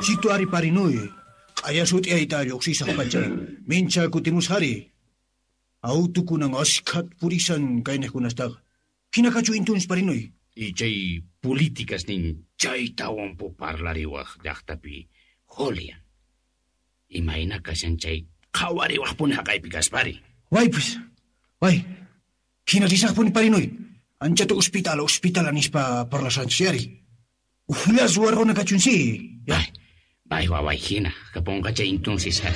Situ ari parinuy. Q'aya sut'iyayta lluqsisaq pacha. Mincha kutimusqari. Autukunan askhat purisan kayniqkunastaqa. Hina kachu intuns parinuy. Y chay políticas nin chaytawan pu parlariwaq llaqtapi Julian. Imayna kashan chay qhawariwaqpuni haqaypi kaspari. Waypis. Way. Hina risaqpuni parinuy. Anchata hospital, hospital nispa parlasanchis yari. Ujllas warquna kachun si. Ya. Bay, bay waway hina, kapunqa chay entonces ha.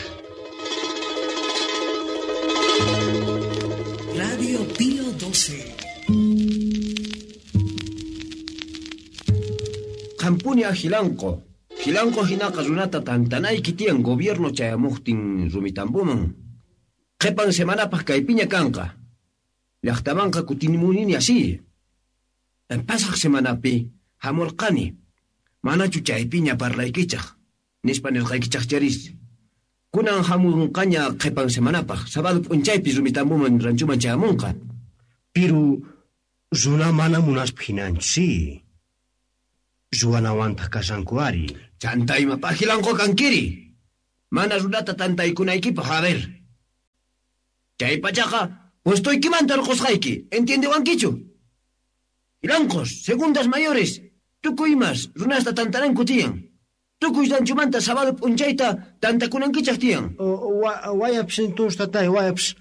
Radio Pío 12. Qampuni a Jilanqo. Jilanqo hinaqa runata tantanayki tiyan gobierno chayamuqtin rumitambuman. Qhipan semanapaq kaypiña kanqa. Llaqtamanqa kutinimunini así. Pasaq semanapi hamurqani. Manachu chaypiña parlaykichaq. Nispa nirqaykichaq charis. Kunan hamunqaña qhipan semanapaq. Sábado p'unchaypi rumitambuman ranchuman chayamunqa. Piru runa mana munaspa hinanchu si. Ruwanawantaq kashanku ari. Chanta imapaq Jilanqo kankiri. Mana runata tantaykunaykipaq, a ver. Chay pachaqa puestoykimanta hurqusqayki, ¿entiendewankichu? Jilanqos, segundas mayores, tukuy imas runasta tantananku tiyan. Tukuy ranchumanta sábado p'unchayta tantakunankichaq tiyan. Wayapis entonces tatay, wayapis.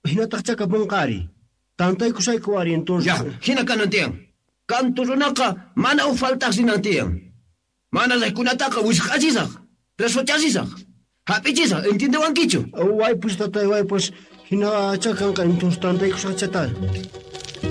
Hinataq chakapunqa ari. Tantaykusayku ari entonces. Ya, hina kanan tiyan. Kantu runaqa mana uj faltaq rinan tiyan. Mana raykunataqa wisq'achisaq, presochasisaq, hap'ichisaq, ¿entiendewankichu? Waypus tatay, waypus. Hina chakanqa entonces tantaykusaq chatay.